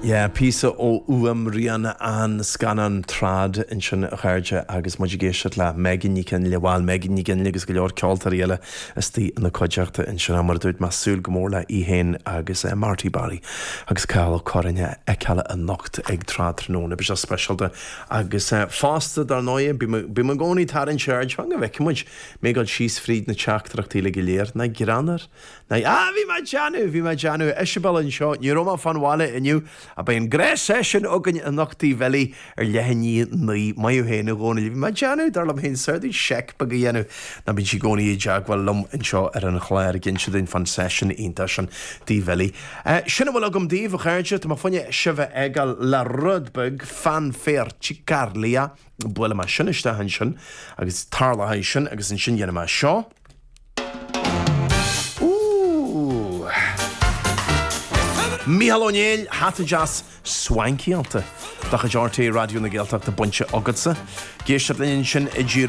Yeah, píosa ó fhuaimrian an scannáin Trad ansin a chairde agus muid ag éisteacht le Megan Nic Fhionnghaile, bhuel Megan Nic Fhionnghaile agus go leor ceoltóirí eile istigh ina cuideachta ansin. Mar a dúirt mé, súil go mór le í féin agus Marty Barry agus Cathal Ó Curráin a fheiceáil anocht ag Trad tráthnóna. Beidh sé speisialta agus fosta dar ndóigh, bím i gcónaí ag tarraingt aird, fan go bhfeicfidh muid mé ag dul síos fríd na teachtaireachtaí uilig go léir, nach greannmhar Ah, bhí mé ag déanamh, bhí mé ag déanamh. Isabel anseo, ní raibh mé fán bhaile inniu, ach beidh an gnáth-seisiún againn anocht Tigh Bhilí ar leath i ndiaidh 9. Maith thú féin, a Dhónaill. Bhí mé ag déanamh, dar liom féin, saor duit seic beag a dhéanamh. Ná bíonn sí i gcónaí i dteagmháil liom anseo ar an chlár ag inse dúinn fán seisiún iontach sin Tigh Bhilí. Sin a bhfuil agam daoibh, a chairde. Tá mé fá choinne sibh a fhágáil le rud beag, Fanfare Cicarlia. Buailfidh mé sin isteach ansin agus tarlóidh sin agus ansin dhéanfaidh mé seo. Ooh! Mícheál Ó Néill, hata deas swankyáilte de chuid RTÉ Raidió na Gaeltachta bainte agatsa. Ag éisteacht linn ansin i dTír.